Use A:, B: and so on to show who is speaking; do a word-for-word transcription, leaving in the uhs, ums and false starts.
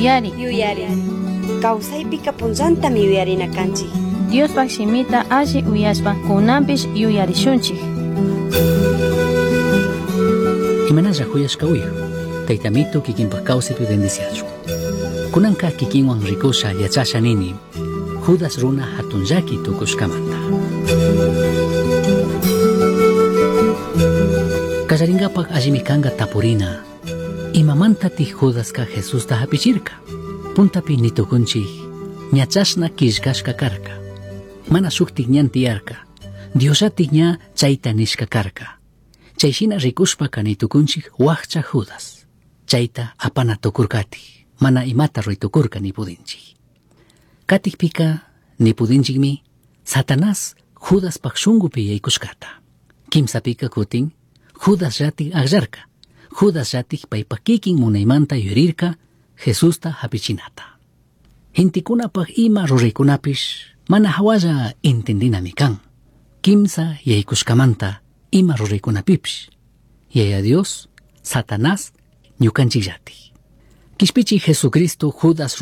A: Yuyari.
B: Yuyari. Kawsaypika punllantami yuyarina kanchik.
A: Diospaj shimita alli uyashpa kunanpish yuyarishunchik.
C: Imanalla huyashka uyu. Taytamitu kikinpaj kawsaypi bendiciachun. Kunanka kikinwan rikusha yachasha nini. Judas runa hatun llaki tukushkamanta. Kallarinkapak allimi kanka tapurina. Imamantatik Judaska Jesusta hapichirka. Puntapi nitukunchik ña chashna killkashka karka. Mana shuktik ñan tiyarka. Diosllatik ña chayta nishka karka. Chay shina rikushpaka nitukunchik wakcha Judas. Chayta apana tukurkatik. Mana imata ruy tukurka nipudinchik. Katikpika nipudinchikmi Satanás Judaspaj shunkupi yaykushkata. Kimsapika kutin Judas llatik akllarka. Judas llatik paypak kikin munaymanta yurirka Jesusta hapichinata. Gentekunapaj ima ruraykunapish mana hawalla entendinami kan. Kimsa yaykushkamanta ima ruraykunapipish. Yaya Dios, Satanás, ñukanchik llatik. Kishpichi Jesucristo Judas